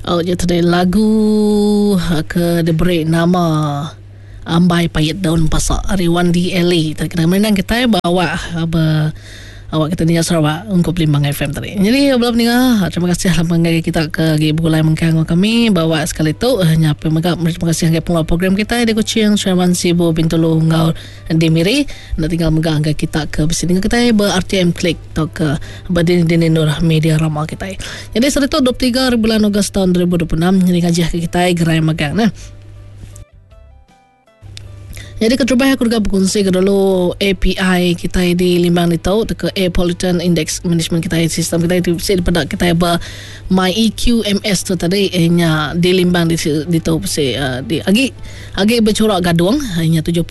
Oh nya tadi lagu ke diberi nama Ambai Pait Daun Pasa ari Wandi Eli tadi kena merindang kitai ba awak ba awak kita ninga Sarawak ungkup Limbang FM tadi. Jadi bala peninga terima kasih laban ngagai kita ke agi begulai mengkang enggau kami ba awak sekali tu nya pia mega meri terima kasih ngagai pengeluar program kitai di Kuching, Sri Aman, Sibu, Bintulu enggau di Miri. Enda tinggal mega ngagai kita ke bisi ninga kitai ba RTM Click tauka ba dini-dini endur media rama kitai. Nyadi sehari tu 23 hari bulan Ogos taun 2026 nyadi ngajih ke kitai gerai magang neh. Nyadi keterubah aku deka bekunsi ke dulu API kitai di Limbang ditu tauka Air Pollutant Index Management kitai sistem kitai ti bisi dipeda kitai ba My EQMS tu tadi iya nya di Limbang ditu bisi di agi agi bechurak gadung iya nya 75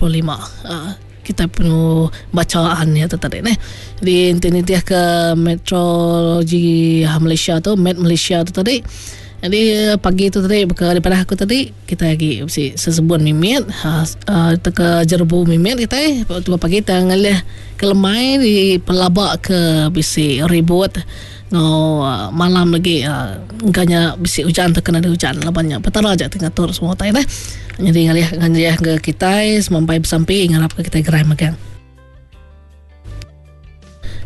kitai perlu bacaan iya tu tadi neh. Jadi enti nitih ke Metrology Malaysia tu Met Malaysia tu tadi jadi pagi tu tadi baka dipadah aku tadi kitai agi bisi sesebun mimit uhh tauka jerebu mimit kitai tunggu pagi tang ngalih ke lemai dipelaba ke bisi ribut enggau malam lagi engka nya bisi ujan tauka nadai ujan laban nya petara aja ti ngatur semua utai neh. Nyadi ngalih ngalih ke kitai semampai besampi ngarap ke kitai gerai megang.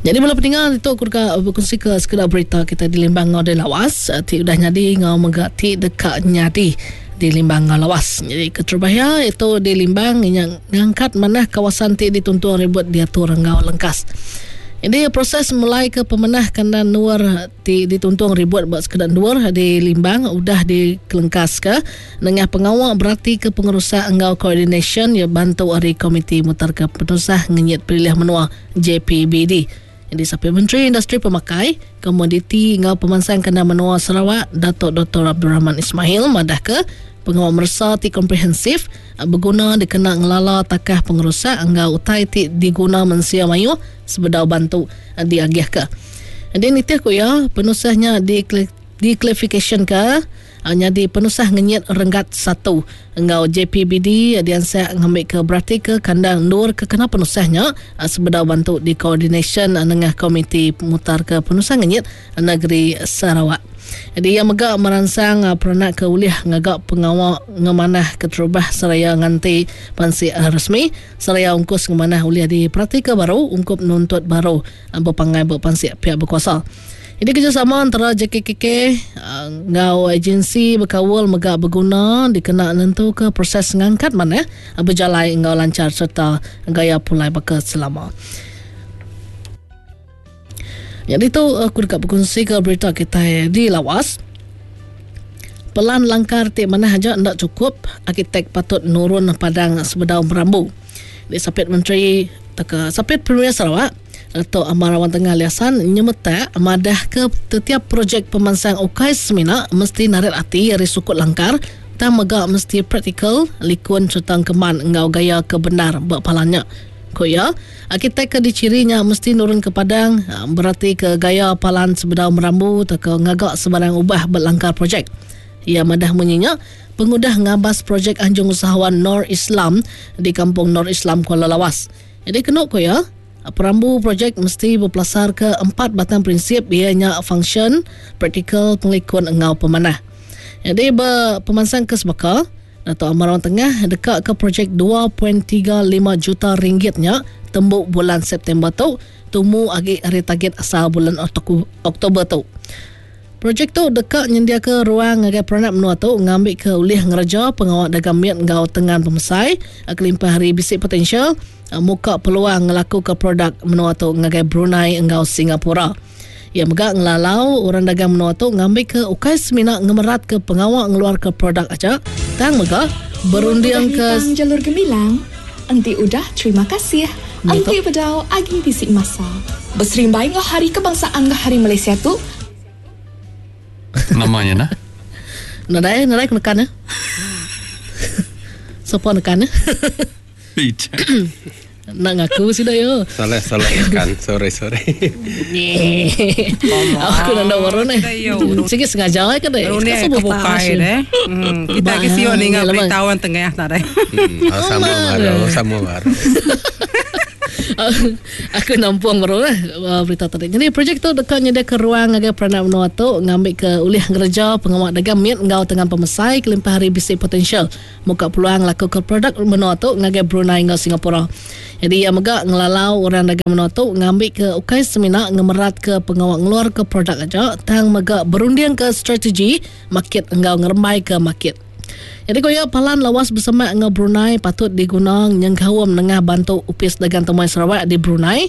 Nyadi bala peninga ditu aku deka bekunsi ke sekeda berita kitai di Limbang enggau di Lawas ti udah nyadi enggau mega ti deka nyadi di Limbang enggau Lawas. Nyadi keterubah iya itu di Limbang inya ngangkat manah kawasan ti dituntung ribut diatur enggau lengkas. Nyadi proses mulai ke pemanah kandang endur ti dituntung ribut ba sekeda endur di Limbang udah dikelengkaska nengah pengawa beratika pengerusak enggau koordinasyen iya bantu ari Komiti Mutarka Penusah Ngenyit Pelilih Menua, JPBD. Nyadi Sapit Menteri Industri Pemakai, Komoditi enggau Pemansang Kandang Menua Sarawak Datuk Doktor Abdul Rahman Ismail madahka pengawa meresa ti komprehensif beguna dikena ngelala takah pengerusak enggau utai ti diguna mensia mayuh sebedau bantu diagihka. Nyadi nitih ku iya, penusah nya diklasifikasyenka nyadi penusah ngenyit renggat satu enggau JPBD diansak ngambika beratika kandang endur ke kena penusah nya sebedau bantu dikoordinasyen nengah Komiti Mutarka Penusah Ngenyit Negeri Sarawak. Nyadi iya mega meransang peranak ke ulih ngaga pengawa ngemanah keterubah seraya nganti pansik resmi seraya ungkus ngemanah ulih diperatika baru ungkup nuntut baru bepanggai ba pansik piak bekuasa. Nyadi kerejasama entara JKKK enggau agensi bekaul mega beguna dikena nentuka proses ngangkat manah bejalai enggau lanchar sereta gaya pulai baka selama. Nyadi tu aku deka bekunsika berita kitai di Lawas. Pelan langkar ti manah aja enda chukup, arkitek patut nurun padang sebedau merambu. Di Sapit Menteri tauka Sapit Premier Sarawak, Datuk Amar Awang Tengah Ali Hassan nyemetak madahka tetiap projek pemansang ukai semina mesti narit ati ari sukut langkar tang mega mesti praktikal, likun sereta engkeman enggau gaya ke bendar ba palan nya. Ku iya, arkitek ke dichiri nya mesti nurun ke padang beratika gaya palan sebedau merambu tauka ngaga sebarang ubah ba langkar projek. Iya madah munyi nya pengudah ngabas projek Anjung Usahawan Nor Islam di Kampung Nor Islam Kuala Lawas. Nyadi kenu ku iya, perambu projek mesti bepelasarka empat batang prinsip iya nya fungsyen, praktikal, pengelikun enggau pemanah. Nyadi ba pemansang ke sebaka, Datuk Amar Awang Tengah deka ke projek 2.35 juta ringgit nya tembu bulan September tu tumu agi ari tagit asal bulan Oktober tu. Projek tu deka nyendiaka ruang ngagai peranak menua tu ngambika ulih ngereja pengawa dagang mit enggau tengan pemesai kelimpah ari bisi potensial muka peluang ngelakuka produk menua tu ngagai Brunei enggau Singapura. Iya mega ngelalau orang dagang menua tu ngambika ukai semina ngemeratka pengawa ngeluarka produk aja tang mega berundingka Udah jalur gemilang, enti udah terima kasih, enti bedau agi bisi masa. Beserimbai enggau Hari Kebangsaan enggau Hari Malaysia tu, Nama nya nah? Nadai, nadai ku nekan ya. Sapa nekan ya? Enda ngaku sida ya. Salah salah nekan. Sorry sorry. Aku nanda baru ni. Sigi sengaja ke deh. Runding ke bukai deh. Hmm, kita ke siu ninga berita orang tengah tak deh. Hmm, sama baru, sama baru. Aku nampung baru lah berita tadi. Jadi projek tu deka nyediaka ruang ngagai peranak menua tu ngambika ulih ngereja pengawa dagang mit enggau tengan pemesai kelimpah ari bisi potensial muka peluang ngelakuka produk menua tu ngagai Brunei enggau Singapura. Jadi iya mega ngelalau orang dagang menua tu ngambika ukai semina ngemeratka pengawa ngeluarka produk aja tang mega berundingka strategi makit enggau ngerembaika makit. Nyadi ku iya, palan lawas besemak enggau Brunei patut diguna nyengkaum nengah bantu Opis Dagang Temuai Sarawak di Brunei,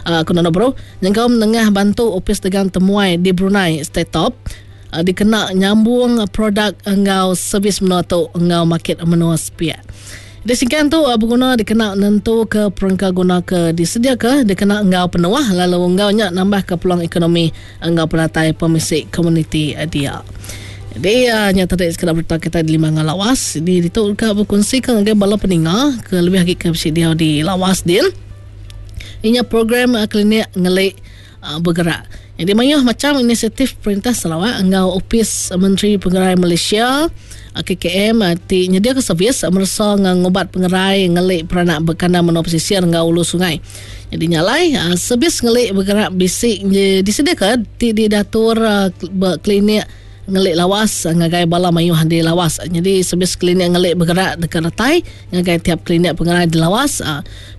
aku nanda baru, nyengkaum nengah bantu Opis Dagang Temuai di Brunei, STATOB, dikena nyambung produk enggau servis menua tu enggau makit menua sepiak. Di singkang tu beguna dikena nentuka perengka guna ke disediaka dikena enggau penuh lalu enggau nya nambahka peluang ekonomi enggau penatai pemisi komuniti dia. Jadi nya tadi sekeda berita kitai di Limanga Lawas. Jadi ditu deka bekunsika ngagai bala peninga ke lebih agi ke bisi diau di Lawas din. Inya program klinik ngeli bergerak. Jadi mayuh macham inisiatif perintah Sarawak enggau Opis Menteri Pengerai Malaysia KKM ti nyediaka servis meresa enggau ngubat pengerai ngeli peranak bekandang menua pesisir enggau ulu sungai. Nyadi nya alai, servis ngeli begerak bisi disediaka ti didatur ba klinik ngeli lawas ngagai bala mayuh di lawas. Nyadi servis klinik ngeli begerak deka datai ngagai tiap klinik pengerai di lawas.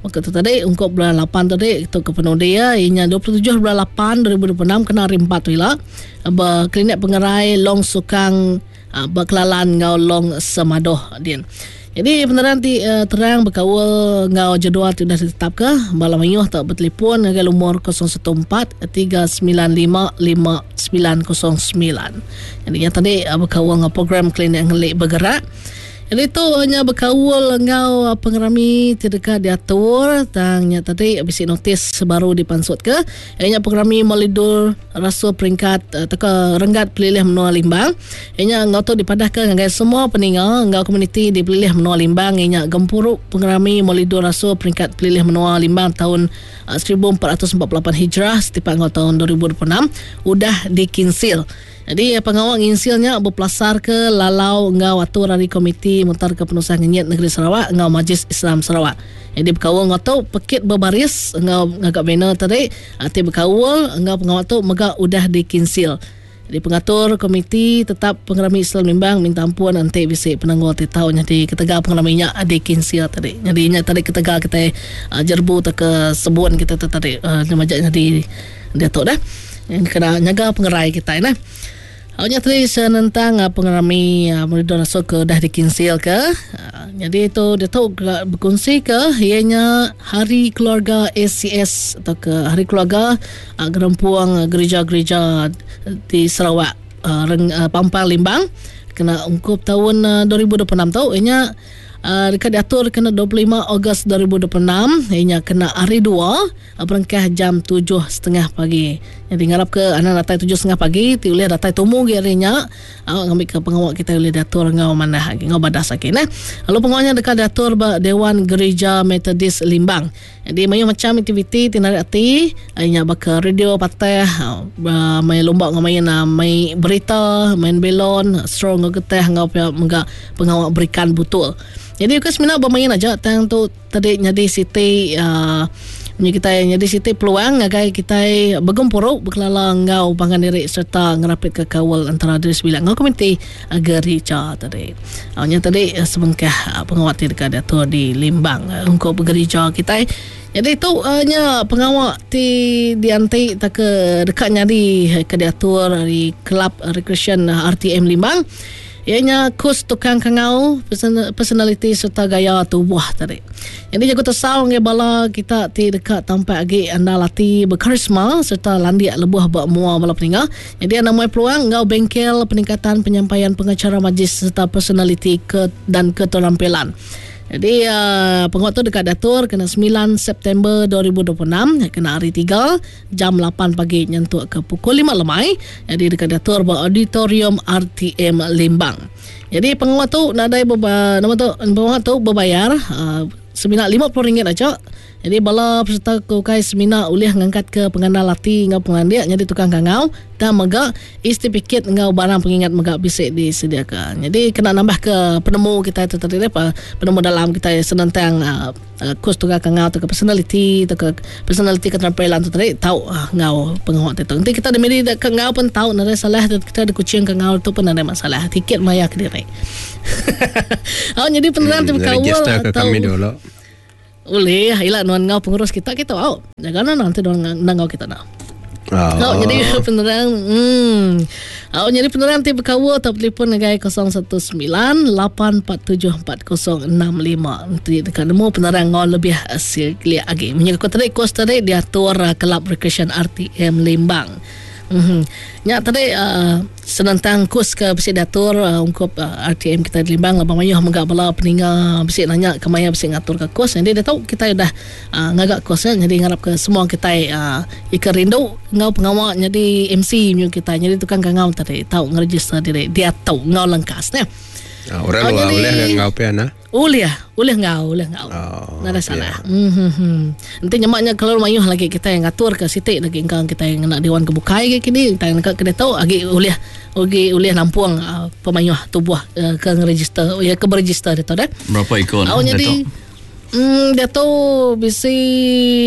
Baka tu tadi ungkup bulan lapan tadi tu ke penudi iya nya 27 bulan lapan 2026 kena hari empat tu ila ba klinik pengerai Long Sukang Ba Kelalan enggau Long Semadoh din. Nyadi penerang ti terang bekaul enggau jadual ti udah ditetapka, bala mayuh tau betelefon ngagai lumur 014 395 5909. Nyadi nya tadi bekaul enggau program Klinik Ngeli Bergerak. Nyadi tu nya bekaul enggau pengerami ti deka diatur tang nya tadi bisi notis baru dipansutka iya nya pengerami Maulidur Rasul peringkat tauka renggat pelilih menua Limbang. Iya nya enggau tu dipadahka ngagai semua peninga enggau komuniti di pelilih menua Limbang iya nya gempuru pengerami Maulidur Rasul peringkat pelilih menua Limbang taun 1448 Hijrah setipak enggau taun 2026 udah dikinsil. Nyadi pengawa nginsil nya bepelasarka lalau enggau atur ari Komiti Mutarka Penusah Ngenyit Negeri Sarawak enggau Majlis Islam Sarawak. Nyadi bekaul enggau tu, pekit bebaris enggau ngaga banner tadi ti bekaul enggau pengawa tu mega udah dikinsil. Nyadi pengatur Komiti Tetap Pengerami Islam Limbang minta ampun enti bisi penanggul ti tau nyadi ketegal pengerami nya dikinsil tadi. Nyadi nya tadi ketegal kitai jerebu tauka sebun kitai tu tadi majak nyadi diatu deh. Kena nyaga pengerai kitai neh. Au nya tadi senentang pengerami Meridur Rasul ke udah dikinsil ke. Nyadi tu diatu bekunsi ke iya nya Hari Keluarga ACS atau ke Hari Keluarga Gerempung Gerija-gerija di Sarawak Pampang Limbang kena ungkup taun 2026 tu iya nya deka diatur kena 25 Ogos 2026 iya nya kena hari dua. Berengkah jam tujuh setengah pagi. Nyadi ngarap ke anang datai tujuh setengah pagi ti ulih datai tumu agi ari nya ngambika pengawa kitai ulih diatur enggau manah agi enggau badas agi neh. Lalu pengawa nya deka diatur ba Dewan Gerija Methodist Limbang. Nyadi mayuh macham aktiviti ti narit ati nya baka radio patah, main lumba enggau main mai berita, main belon, straw enggau getah enggau pia mega pengawa berikan butul. Nyadi ukai semina bemain aja tang tu Tadi nyadi siti munyi kitai nyadi siti peluang ngagai kitai begempuru bekelala enggau pangan diri sereta ngerapitka kaul entara diri sebilik enggau komuniti gerija tadi. Nya tadi sebengkah pengawa ti deka diatur di Limbang ungkup gerija kitai. Nyadi tu nya pengawa ti dianti tauka deka nyadi ke diatur ari Kelab Rekreasyen RTM Limbang. Iya nya kus tukang kangau, personaliti sereta gaya tubuh tadi. Nyadi jaku tesau ngagai bala kita ti deka tampak agi andal ati bekarisma sereta landik lebuh ba mua bala peninga. Nyadi anda muai peluang enggau bengkel peningkatan penyampaian pengacara majlis sereta personaliti ke dan keterampilan. Jadi pengawa tu deka diatur kena semilan September 2026 kena hari Tiga. Jam lapan pagi nyentuk ke pukul lima lemai nyadi deka diatur ba Auditorium RTM Limbang. Nyadi pengawa tu nadai beba nama tu pengawa tu bebayar semina RM50 aja. Jadi bala peserta ke ukai semina ulih ngangkatka pengandal ati enggau pengelandik nyadi tukang kangau tang mega e-setipikit enggau barang pengingat mega bisi disediaka. Nyadi kena nambahka penemu kitai tu tadi penemu dalam kitai senentang kus tukang kangau tauka personaliti tauka personaliti keterampilan tu tadi tau enggau pengawa ti tu. Enti kita dimiri ke enggau pun tau nadai salah kita di Kuching ke enggau tu pun nadai masalah. Tiket mayar kediri. Au nyadi penerang ti bekaul atau Ulih, ila nuan enggau pengurus kita kitu au. Jaga nuan nanti nuan enda enggau kita dah. Oh. Au nyadi penerang Au nyadi penerang ti bekaul tau telefon ngagai 019 847 4065 enti deka nemu penerang enggau lebih silik agi. Munyi aku tadi kos tadi diatur Kelab Recreation RTM Limbang. Uhh. Nya tadi uhh senentang kus ke bisi diatur ungkup RTM kitai di Limbang laban mayuh mega bala peninga bisi nanya ke maya bisi ngatur ka kus. Nyadi diatu kitai udah uhh ngaga kus nya nyadi ngarap ke semua kitai uhh ika rindu enggau pengawa nyadi MC mung kitai nyadi tukang kangau tadi tau ngeregister diri diatu enggau lengkas neh. Orang luar ulih ga enggau pia nah. Ulih, ulih enggau, ulih enggau. Oh, Nadai salah. Mm-hmm. Enti nyema nya kelalu mayuh lagi kitai ngatur ke siti lagi engka kitai ngena dewan ke bukai agi kini kitai nengka ke ditu agi ulih agi ulih nampung uh, pemayuh tubuh uh, ke ngeregister ya ke beregister ditu deh. Berapa iku Au nyadi mm, diatu bisi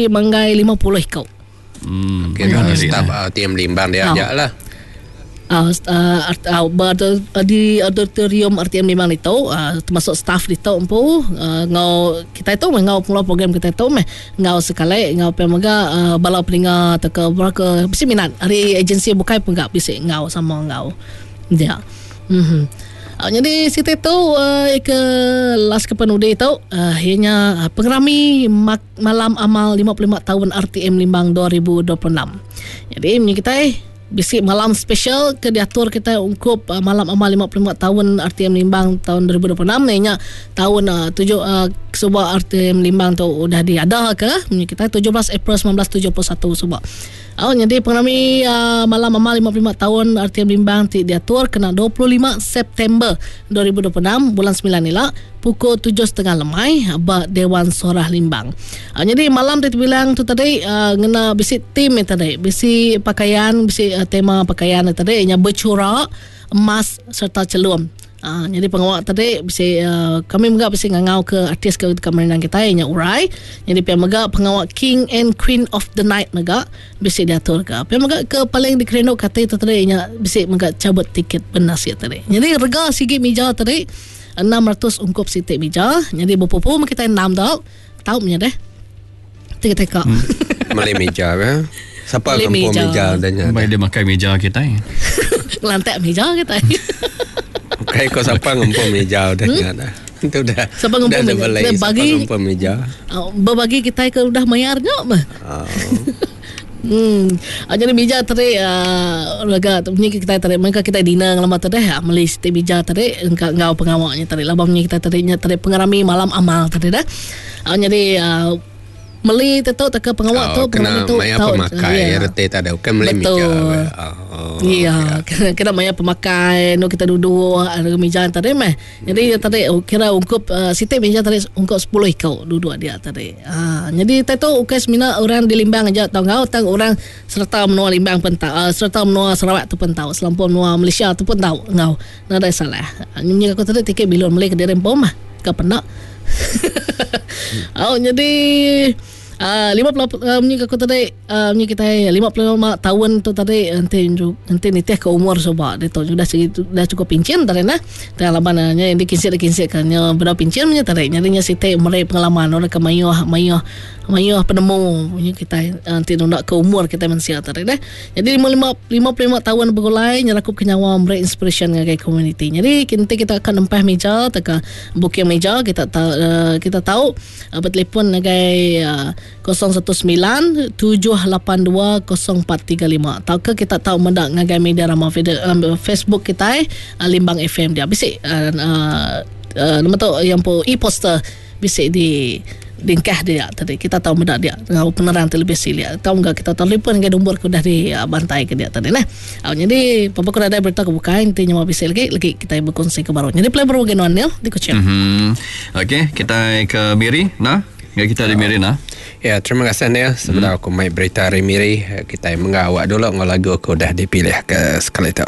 manggai 50 iku. Hmm. Kira mm. staf uh, tim Limbang dia aja lah. Uh, uh, uh, di auditorium RTM Limbang itu uh, termasuk staff ditu empu uh, ngau kita itu ngau pengeluar program kita itu meh ngau sekali ngau pe mega uh, bala peninga atau ke berapa bisi minat hari agensi bukai pun gak bisi ngau sama ngau dia. Mm-hmm. Uh, jadi siti tu uh, ke last ke penudi tu uh, ianya uh, pengerami mak Malam Amal 55 Taun RTM Limbang 2026. Jadi munyi kitai bisi malam special ke diatur kitai ungkup uh, Malam Amal 55 Taun RTM Limbang taun 2026 iya nya taun uh, tuju uh, suba RTM Limbang tu udah diada ke munyi kitai 17 April 1971 suba. Au nyadi pengerami uh, Malam Amal 55 Taun RTM Limbang ti diatur kena 25 September 2026 bulan 9 ila pukul tujuh setengah lemai ba Dewan Suarah Limbang. Uh, nyadi malam ti tebilang tu tadi uh, ngena bisi theme tadi, bisi pakaian, bisi uh, tema pakaian tadi nya bercorak emas serta chelum. Uh, nyadi pengawa tadi bisi uh, kami mega bisi ngangau ke artis ke deka merindang kitai nya Urai. Nyadi pia mega pengawa King and Queen of the Night mega bisi diatur ke. Pia mega ke paling dikerindu ke ati tu tadi nya bisi mega cabut tiket benasit tadi. Nyadi rega sigi mija tadi 600 ungkup siti mija. Nyadi bepupu meh kitai enam tu. Tau meh nya deh. Ti kitai ka. Hmm. Meli mija ke? Siapa Meli ngempu mija. mija dah nya? Baik dia makai meja kitai. Ngelantak mija kitai. Bukai ko siapa ngempu mija udah nya dah. Itu dah. Siapa ngempu dah mija? dibeli, Dia Siapa bagi- ngempu mija? Oh, Berbagi kitai ke udah mayar nya meh. Oh. Hmm. Ah, jadi bija tadi uh, raga tu punya kita tadi mereka kita dinner ngelama tadi ah, meli siti bija tadi engka enggau pengawaknya tadi laban punya kita tadi nya tadi pengerami malam amal tadi dah. Ah, jadi uh, meli tu tu ke pengawak tu Oh, kena pengerami tu maya tau, pemakai ya. reti tak ada bukan meli Betul. mija. Oh. Ya, kena, kena maya pemakai, nu kita duduk ada meja tadi meh. Jadi hmm. tadi oh, kira ungkup uh, siti meja tadi ungkup 10 ikau duduk dia tadi. Ha, jadi tadi tu ukai semina orang di Limbang aja tau ngau tang orang serta menua Limbang pun tau, uh, serta menua Sarawak tu pun tau, selampur menua Malaysia tu pun tau ngau. Nadai salah. Nyi aku tadi tiket bilun meli ke diri empom mah. Ke penak. Oh, jadi uh, 50 uh, munyi aku tadi uh, munyi kitai 55 tahun tu tadi enti enti nitih ke umur suba ditu udah segi dah cukup pincin tadi nah. Tang laban uh, nya dikinsit dikinsit ke nya bedau pincin nya tadi. Nyadi nya siti meri pengalaman orang ke mayuh mayuh mayuh penemu munyi kitai uh, enti nunda ke umur kitai mensia tadi deh. Nyadi 55 55 tahun begulai nyerakup ke nyawa meri inspiration ngagai komuniti. Nyadi enti kita akan nempah meja tauka booking meja kita ta, uh, kita tau Betelefon ngagai 019 782 0435 tauka kita tau meda ngagai media rama Facebook kitai Limbang FM dia bisi nama tu yang empu e-poster bisi di dingkah dia tadi kita tau meda dia enggau penerang ti lebih silik tau mega kita telefon ngagai nombor ke udah di bantai ke dia tadi neh. Au nyadi papa ku nadai berita ke bukai enti nyema bisi lagi lagi kitai bekunsi ke baru. Nyadi play baru agi nuan Neil di Kuching. Mhm. Okey, kitai ke Miri nah. Ngagai kita di Miri nah. Ya, terima kasih Neil. Sebedau aku mai berita ari Miri, kitai mengga awak dulu enggau lagu ke udah dipilih ke sekali tu.